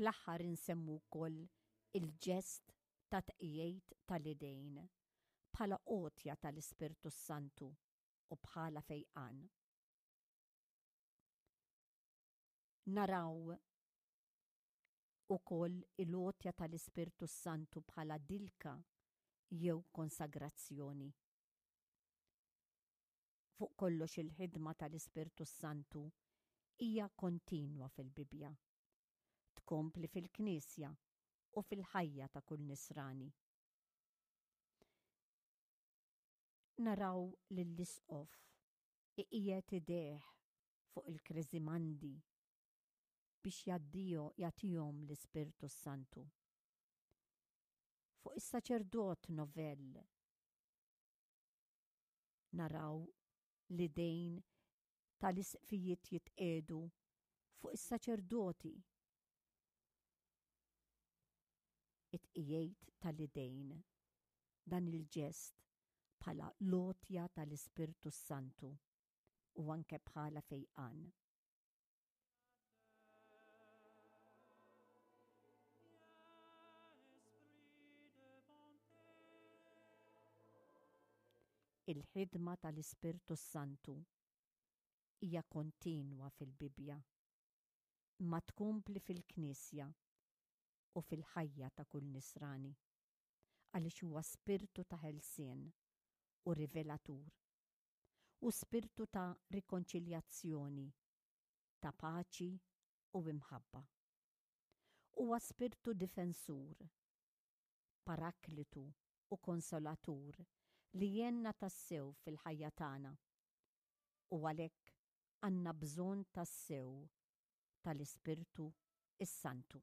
Fl-aħħar insemmu wkoll il-ġest ta' tqiegħid tal-idejn bħala għotja tal-Ispirtu s-Santu u bħala fejqan. Naraw ukoll il-għotja tal-Ispirtu s-Santu bħala dilka jew konsagrazzjoni. Fuq kollox il-ħidma tal-Ispirtu s-Santu hija kontinwa fil-Bibbja. Tkompli fil-Knisja u fil-ħajja ta' kull Nisrani. Naraw lill-Isqof iqiegħed idejh fuq il-kreżimandi biex jagħtihom l-Ispirtu s-Santu. Fuq is-saċerdot novell Naraw l-idejn tal-isqfijiet jitqiegħdu fuq is-saċerdoti. It-tqiegħid tal-idejn, dan il-ġest bħala l-għotja tal-Ispirtu s-Santu u anke bħala fejqan. Il-ħidma tal-Ispirtu s-Santu hija kontinwa fil-Bibbja, imma tkompli fil-Knisja u fil-ħajja ta' kull Nisrani, għaliex huwa spirtu ta' ħelsien u rivelatur. u spirtu ta' rikonċiljazzjoni, ta' paċi u imħabba. Huwa spirtu difensur, paraklitu u konsolatur li jgħinna tassew fil-ħajja tagħna u għalhekk għandna bżonn tassew tal-Ispirtu s-Santu.